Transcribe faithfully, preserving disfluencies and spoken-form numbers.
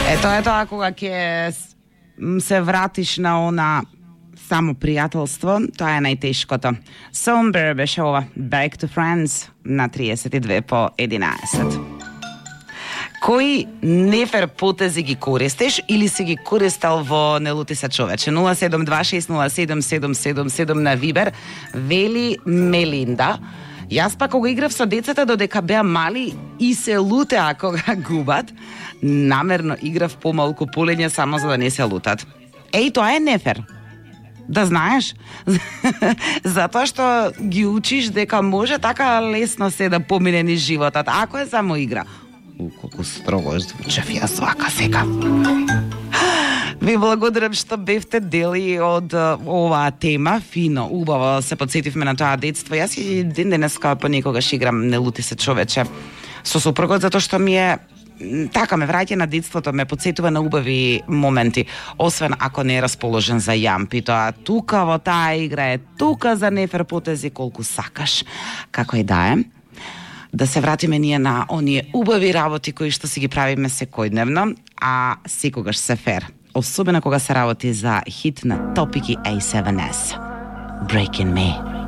Ето е тоа кога ќе се вратиш на она само пријателство, тоа е најтешкото. Somber беше ова Back to Friends на триесет и две по единаесет. Кои нефер потези ги користиш или си ги користел во Не лути се човече? нула седум два шест нула седум седум седум седум на Вибер, вели Мелинда. Јас па кога играв со децата додека беа мали и се лутеа кога губат, намерно играв помалку полење само за да не се лутат. Еј, тоа е нефер. Да знаеш, затоа што ги учиш дека може така лесно се да помине низ животот, ако е само игра. У, колку строго звучев јас вака сега. Ви благодарам што бевте дели од оваа тема, фино, убаво се подсетивме на тоа детство. Јас и ден денеска понекогаш играм Не лути се човече со супругот, затоа што ми е така ме враќа на детството, ме подсетува на убави моменти, освен ако не е расположен за јампи. Тоа тука во таа игра е тука за нефер потези колку сакаш. Како и да е, да се вратиме ние на оние убави работи кои што си ги правиме секојдневно, а секогаш се фер. Особено кога се работи за хит на Топики A седум S. Breaking Me.